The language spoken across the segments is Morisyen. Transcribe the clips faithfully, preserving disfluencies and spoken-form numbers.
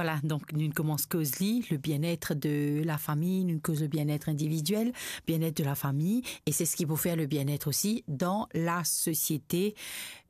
Vwala, donk nou koumans koz li, le bien-être de la famille, nou koz le bien-être individuel, bien-être de la famille, et c'est ce qui peut faire le bien-être aussi dans la société,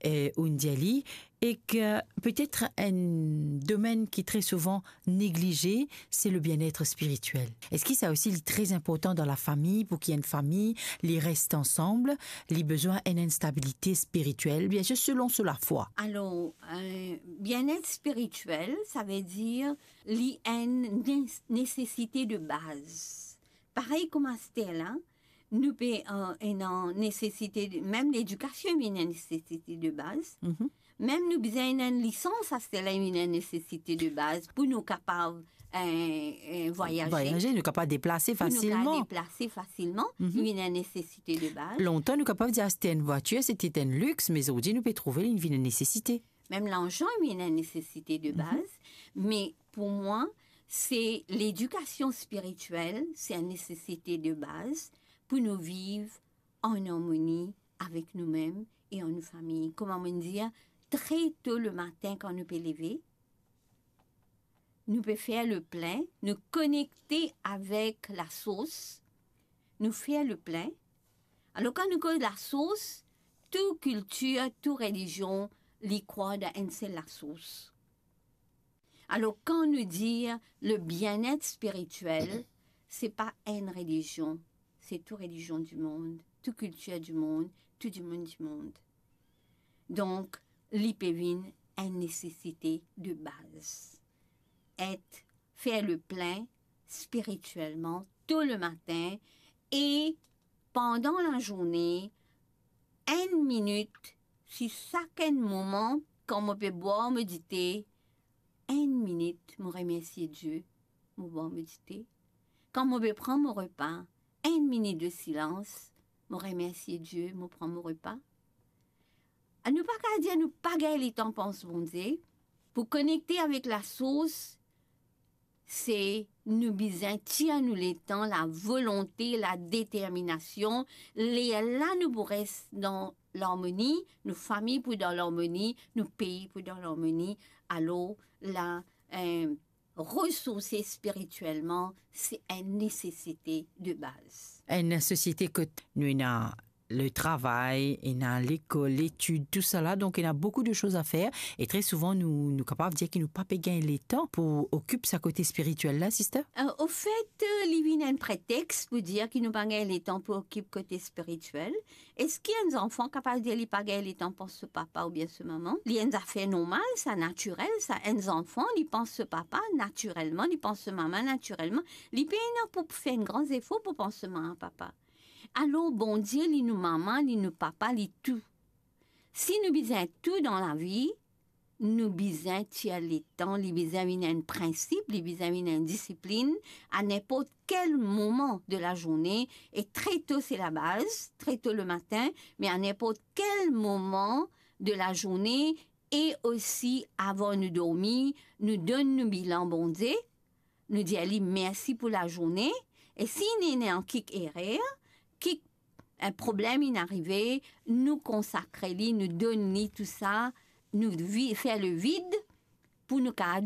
euh, ou dir li, e ki petet enn domenn ki tre souvan neglize, se le bien-être spirituel. Eski sa osi li tre inportan dan lafami, pou ki enn fami li res ansam, li bizin enn, enn stabilite spirituel, bien sir, selon so lafwa? Alor, euh, bien-être spirituel, savedir li enn nes-, nesesite de baz. Parey kouma aster la, nou pe, euh, ena nesesite de, mem ledikasion vinn enn nesesite de baz. Mhm. Mem nou bizin enn lisans, aster la vinn enn nesesite de baz pou nou kapav, euh, euh, vwayaze. Vwayaze, nou kapav deplase fasilman. Pou nou kapav deplase fasilman, mhm, li vinn enn nesesite de baz. Lontan, nou kapav dir aste enn vwatir, se ti enn lix, me zordi, nou pe trouve li vinn enn nesesite. Mem larzan vinn enn nesesite de baz, mhm, me pou mwa, se ledikasion spirituel, se enn nesesite de baz pou nou viv an armoni avek noumem e an nou fami. Kouma mo dir, tre to lematin kan nou pe leve, nou pe fer le plin, nou konekte avek lasours, nou fer le plin. Alor, kan nou koz lasours, tou kiltir, tou relizion, li krwar dan enn sel lasours. Alor, kan nou dir le bien-être spirituel, se pa enn relizion, se tou relizion dimond, tou kiltir dimond, tou dimoun dimond. Donk, li pe vinn enn nesesite de baz. Et fer le plin spirituelman to lematin e pandan lazourne, enn minit, si sak enn moman, kan mo pe bwar mo dite, enn minit, mo remersie Die, mo bwar mo dite. Kan mo pe pran mo repa, enn minit de silans, mo remersie Die, mo pran mo repa. Nou pa kapav dir nou pa gagn letan pans Bondie. Pou konekte avek lasours, se nou bizin tir nou letan, lavolonte, ladeterminasion. Lerla nou pou res dan larmoni, nou fami pou dan larmoni, nou pei pou dan larmoni. Alor la, eh, resourse spirituelman, se enn nesesite de baz. Enn nesesite kot nou ena le travay, ena lekol, letid, tousala. Donk, ena boukou de soz a fer. E tre souvan, nou, nou kapav dir ki nou pa pe gagn letan pou okip sa kote spirituel la, sister. Euh, ofet, euh, li vinn enn pretex pou dir ki nou pa gagn letan pou okip kote spirituel. Eski enn zanfan kapav dir li pa gagn letan pans so papa oubien so mama? Li enn zafer normal, sa, natirel, sa. Enn zanfan, li pans so papa natirelman, li pans so mama natirelman. Li pena pou fer enn gran zefor pou pans so mama, papa. Alor, Bondie, li nou mama, li nou papa, li tou. Si nou bizin tou dan lavi, nou bizin tir letan, li bizin vinn enn prinsip, li bizin vinn enn disiplinn, a ninport kel moman de lazourne, e tre to se labaz, tre to lematin, me a ninport kel moman de lazourne, e osi avan nou dormi, nou donn nou bilan Bondie, nou dir li mersi pou lazourne, e si ena kik erer, kik enn problem inn arive, nou konsakre li, nou donn li tou sa, nou vi-, fer le vid pou nou kapav